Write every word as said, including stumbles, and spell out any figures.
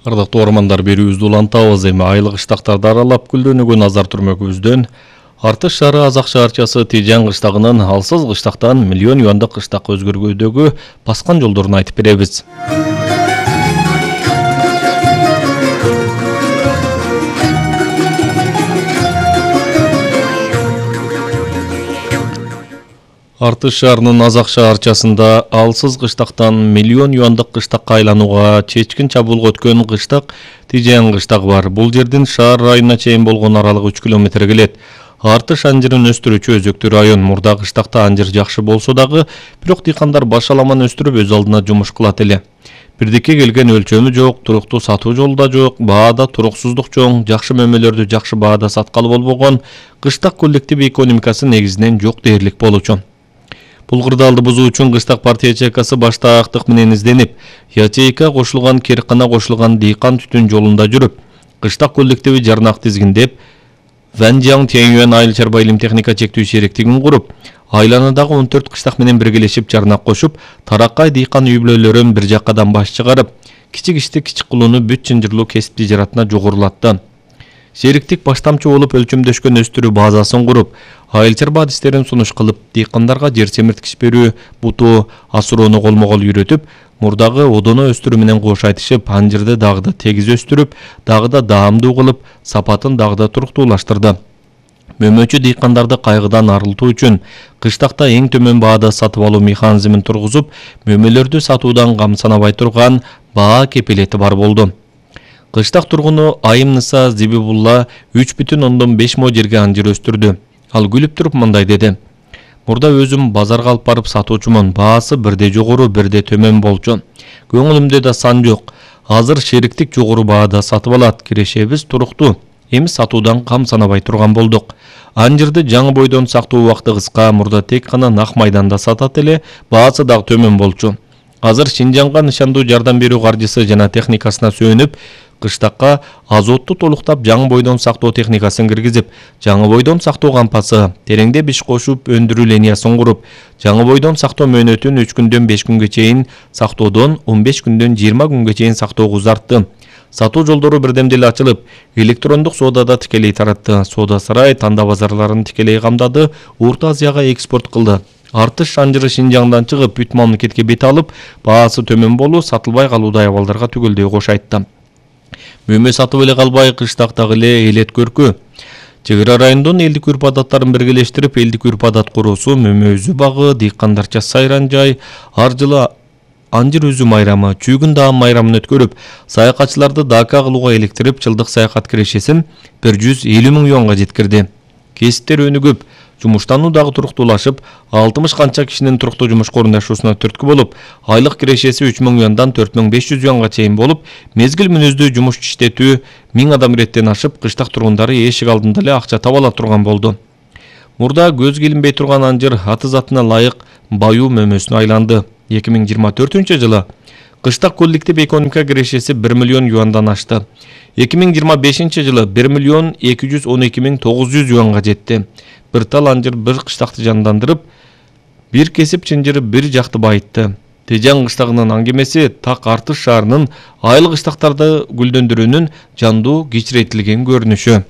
Ардактуу ормандар берүүбүздү улантабыз. Эми айлык кыштактарды аралап гүлдөнүүгө назар түрмөгүбүздөн Артыш шаары Азак шаарчасы Тижан кыштагынын алсыз кыштактан миллион юандык кыштакка өзгөргөдөгү баскан жолдорун айтып беребиз. Артыш шаарынын Азак шаарчасында алсыз кыштактан миллион юандык кыштакка айланууга чечкин чабуулга өткөн кыштак Тижан кыштагы бар. Бул жердин шаар районуна чейин болгон аралыгы үч километр келет. Артыш анжырын өстүрүүчү өзөктүү район. Мурда кыштакта анжыр жакшы болсо дагы, бирок дыйкандар баш аламан өстүрүп өз алдына жумуш кылат эле. Бирдикке келген өлчөмү жок, туруктуу сатуу жолу да жок, баада туруксуздук чоң, жакшы мөмөлөрдү жакшы баада саткалы болбогон, кыштак коллектив экономикасы негизинен жок дээрлик болчу. Бул кырдаалды бузуу үчүн кыштак партия ячейкасы башта актык менен изденип, ячейка кошулган, керкана кошулган дыйкан түтүн жолунда жүрүп, кыштак коллективи жарнак тизгиндеп, Вэнжян Тяньюэн айыл чарба илим техника чектүү шериктигин куруп, айланадагы он төрт кыштак менен биргелешип жарнак кошуп, тараккай дыйкан үй-бүлөлөрүн бир жаккадан баш чыгарып, кичик ишти кичик кылууну бүт чынжырлуу кесип тижаратына жогорулатты. Шериктик баштамчы болуп өлчөмдөшкөн өстүрүү базасын куруп, айыл чарба адистерин сунуш кылып, дыйкандарга жер семирткич берүү, бутуу, асуроону колмо-кол үйрөтүп, мурдагы одоно өстүрүү менен кош айтышып, анжырды дагы да тегиз өстүрүп, дагы да даамдуу кылып, сапатын дагы да туруктуулаштырды. Мөмөчү дыйкандарды кайгыдан арылтуу үчүн кыштакта эң төмөн баада сатып алуу механизмин тургузуп, мөмөлөрдү сатуудан кам санабай турган баа кепилети бар болду. Кыштак тургуну Айымныса Зибибулла үч бүтүн ондон беш мо жерге анжыр өстүрдү. Ал күлүп туруп мындай деди: "Мурда өзүм базарга алып барып сатуучумун. Баасы бирде жогору, бирде төмөн болчу. Көңүлүмдө да сан жок. Азыр шериктик жогору баада сатып алат. Кирешебиз туруктуу. Эми сатуудан кам санабай турган болдук. Анжырды жаңы бойдон сактоо убакыты кыска, мурда тек гана нак майданда сатат эле, баасы дагы төмөн болчу. Азыр Шинжаңга нышандуу жардам берүү каржысы жана техникасына сүйөнүп, кыштакка азотту толуктап жаңы бойдон сактоо техникасын киргизип, жаңы бойдон сактоо кампасы, тереңде биш кошуп өндүрүү линиясын куруп, жаңы бойдон сактоо мөөнөтүн үч күндөн беш күнгө чейин сактоодон он беш күндөн жыйырма күнгө чейин сактоого узартты. Сатуу жолдору бирдемде эле ачылып, электрондук соодада тикелей таратты. Соода сарай танда базарларын тикелей камдады, Орто Азияга экспорт кылды. Артыш анжыры Шинжаңдан чыгып, бүт мамлекетке бет алып, баасы төмөн болуу, сатылбай калуудай абалдарга түгөлдөй кош айтты. Мөмө сатып эле калбай, кыштактагы эле элет көркү. Чек ара райондон элдик үрп адаттарын биргелештирип, элдик үрп адат куруусу, мөмө үзүү багы, дыйкандарча сайран жай, ар жылы анжыр үзүү майрамы, чүйгүн даам майрамын өткөрүп, саякатчыларды дака кылууга электирип, жылдык саякат кирешесин бир жүз элүү миң юанга жеткирди. Кесиптер өнүгүп, жумуштануу дагы туруктуулашып, алтымыш канча кишинин туруктуу жумушка орундашуусуна түрткү болуп, айлык кирешеси үч миң юандан төрт миң беш жүз юанга чейин болуп, мезгил мүнөздүү жумуш иштетүү миң адам иреттен ашып, кыштак тургундары эшик алдында эле акча таба ала турган болду. Мурда көзгө илинбей турган анжыр аты затына ылайык баюу мөмөсүнө айланды. эки миң жыйырма төртүнчү жылы кыштак коллектив экономика кирешеси бир миллион юандан ашты. эки миң жыйырма бешинчи жылы бир миллион эки жүз он эки миң тогуз жүз юанга жетти. Bir tal анжыр bir кыштакты жандандырып, бир кесип чынжырып бир жакты байытты. Тижан кыштагынын аңгемеси так Артыш шаарынын айыл кыштактарды гүлдөндүрүүнүн жандуу кичирейтилген көрүнүшү.